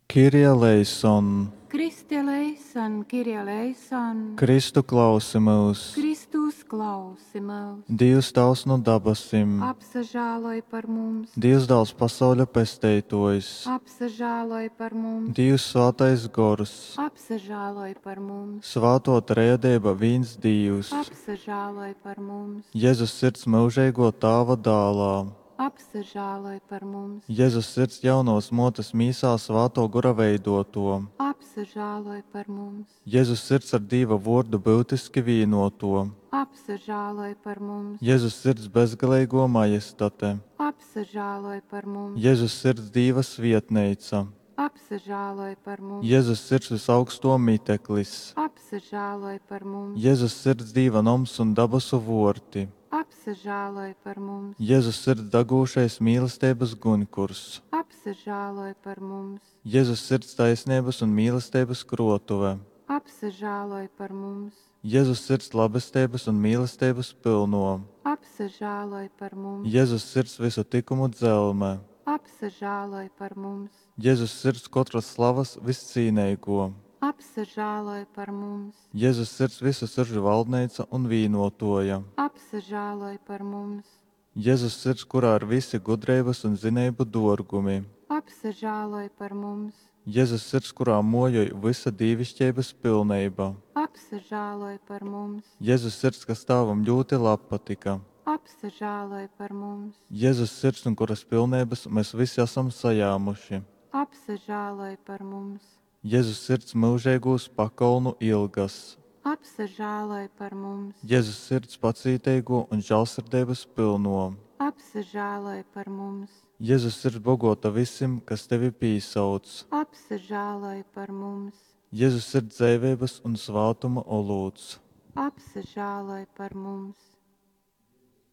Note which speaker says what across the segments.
Speaker 1: Kyrie eleison!
Speaker 2: Kriste eleison, Kyrie eleison!
Speaker 1: Kristu klausi myus!
Speaker 2: Kristu uzklausi myus!
Speaker 1: Dīvs Tāvs nu dabasim.
Speaker 2: Apsažāloj par mums!
Speaker 1: Dīvs Dāls pasauļa Pesteitōjs.
Speaker 2: Apsažāloj par mums!
Speaker 1: Dīvs Svātais Gors.
Speaker 2: Apsažāloj par mums!
Speaker 1: Svātō Trejadeiba vīns Dīvs.
Speaker 2: Apsažāloj par mums!
Speaker 1: Jezus Sirds myužeigō Tāva Dālā.
Speaker 2: Apsažāloj par mums!
Speaker 1: Jezus Sirds jaunovas mōtes mīsā Svātō Gora veidōtō.
Speaker 2: Apsažāloj par mums!
Speaker 1: Jezus Sirds ar Dīva Vōrdu byutiski vīnōtō.
Speaker 2: Apsažāloj par mums!
Speaker 1: Jezus Sirds bezgaleigō Majestate.
Speaker 2: Apsažāloj par mums!
Speaker 1: Jezus Sirds Dīva svietneica.
Speaker 2: Apsažāloj par mums!
Speaker 1: Jezus Sirds vysaugstō miteklis.
Speaker 2: Apsažāloj par mums!
Speaker 1: Jezus Sirds Dīva noms un dabasu vōrti.
Speaker 2: Apsažāloj par mums!
Speaker 1: Jezus Sirds dagūšais mīlesteibas guņkurs.
Speaker 2: Apsažāloj par mums!
Speaker 1: Jezus Sirds taisneibas un mīlesteibas krōtuve.
Speaker 2: Apsažāloj par mums!
Speaker 1: Jezus Sirds labesteibas un mīlesteibas pylnō.
Speaker 2: Apsažāloj par mums!
Speaker 1: Jezus Sirds vysu tykumu dzelme.
Speaker 2: Apsažāloj par mums!
Speaker 1: Jezus Sirds kotras slavas vyscīneigō.
Speaker 2: Apsažāloj par mums!
Speaker 1: Jezus Sirds vysu siržu valdneica un vīnōtōja.
Speaker 2: Apsažāloj par mums!
Speaker 1: Jezus Sirds, kurā ir vysi gudreibas un zineibu dōrgumi.
Speaker 2: Apsažāloj par mums!
Speaker 1: Jezus Sirds, kurā mōjoj vysa dīviškeibas pilneiba.
Speaker 2: Apsažāloj par mums!
Speaker 1: Jezus Sirds, kas Tāvam ļūti labpatyka.
Speaker 2: Apsažāloj par mums!
Speaker 1: Jezus Sirds, nu kuras pilneibas mes vysi asam sajāmuši.
Speaker 2: Apsažāloj par mums!
Speaker 1: Jezus Sirds myužeigūs pakolnu ilgas.
Speaker 2: Apsažāloj par mums!
Speaker 1: Jezus Sirds pacīteigō un žālsirdeibas pylnō.
Speaker 2: Apsažāloj par mums!
Speaker 1: Jezus Sirds bogōta vysim, kas tevi pīsauc.
Speaker 2: Apsažāloj par mums!
Speaker 1: Jezus Sirds dzeiveibas un svātuma olūts.
Speaker 2: Apsažāloj par mums!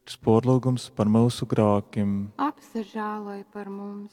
Speaker 1: Pōrlyugums par myusu grākim.
Speaker 2: Apsažāloj par mums!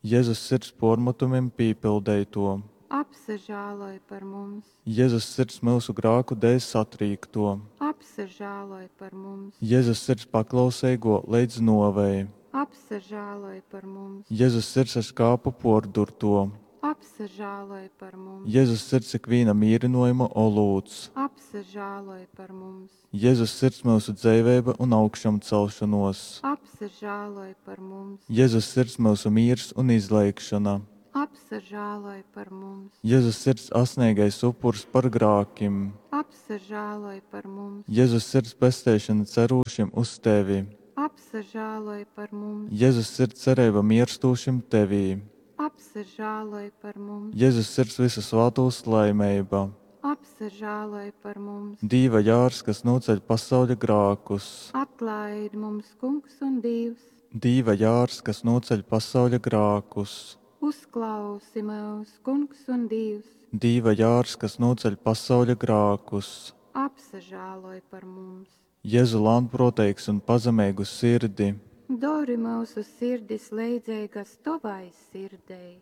Speaker 1: Jezus Sirds pōrmatumim pīpildeitō.
Speaker 2: Apsažāloj par mums!
Speaker 1: Jezus Sirds myusu grāku dēļ satrīktō.
Speaker 2: Apsažāloj par mums!
Speaker 1: Jezus Sirds paklauseigō leidz nōvei.
Speaker 2: Apsažāloj par mums!
Speaker 1: Jezus Sirds ar škāpu pōrdurtō.
Speaker 2: Apsažāloj par mums!
Speaker 1: Jezus Sirds ikvīna mīrynōjuma olūts.
Speaker 2: Apsažāloj par mums!
Speaker 1: Jezus Sirds myusu dzeiveiba un augšamcelšonōs.
Speaker 2: Apsažāloj par mums!
Speaker 1: Jezus Sirds myusu mīrs un izleigšona.
Speaker 2: Apsažāloj par mums!
Speaker 1: Jezus Sirds asneigais upurs par grākim.
Speaker 2: Apsažāloj par mums!
Speaker 1: Jezus Sirds pesteišona cerūšim uz tevi.
Speaker 2: Apsažāloj par mums!
Speaker 1: Jezus Sirds cereiba mierstūšim tevī.
Speaker 2: Apsažāloj par mums!
Speaker 1: Jezus Sirds vysu svātūs laimeiba.
Speaker 2: Apsažāloj par mums!
Speaker 1: Dīva jārs, kas nūceļ pasauļa grākus.
Speaker 2: Atlaid mums, Kungs un Dīvs!
Speaker 1: Dīva jārs, kas nūceļ pasauļa grākus.
Speaker 2: Uzklausi myus, Kungs un Dīvs!
Speaker 1: Dīva jārs, kas nūceļ pasauļa grākus.
Speaker 2: Apsažāloj par mums!
Speaker 1: Jezu lānprōteigs un pazemeigu sirdi.
Speaker 2: Dori mūsu sirdis leidzeigas tovai sirdei.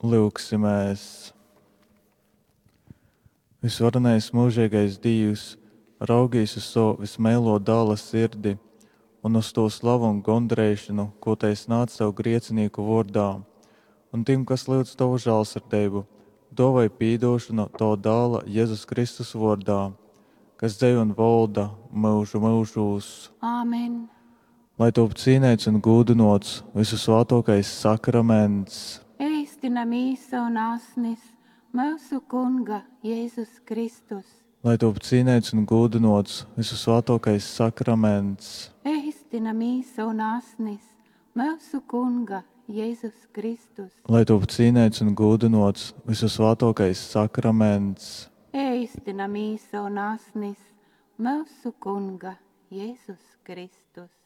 Speaker 1: Lyugsimēs! Visvarenais mūžīgais Dīvs, raugīs uz savu vismeilo dāla sirdi un uz to slavu un gondreišanu, ko tai snādz sev griecinīku vōrdā, un tim, kas lyudz tavu žālsirdību, dāvai pīdošanu tava dāla Jēzus Kristus vārdā, kas dzev un valda mūžu mūžūs.
Speaker 2: Āmen!
Speaker 1: Lai top cīnīts un gūdinots visu svātākais sakraments.
Speaker 2: Eistina mīsa un asnis mūsu Kunga Jēzus Kristus.
Speaker 1: Lai top cīnīts un gūdinots visu svātākais sakraments.
Speaker 2: Eistina mīsa un asnis mūsu Kunga Jēzus Kristus.
Speaker 1: Lai top cīnīts un gūdinots visu svātākais sakraments.
Speaker 2: Eistina mīsa un asnis mūsu Kunga Jēzus Kristus.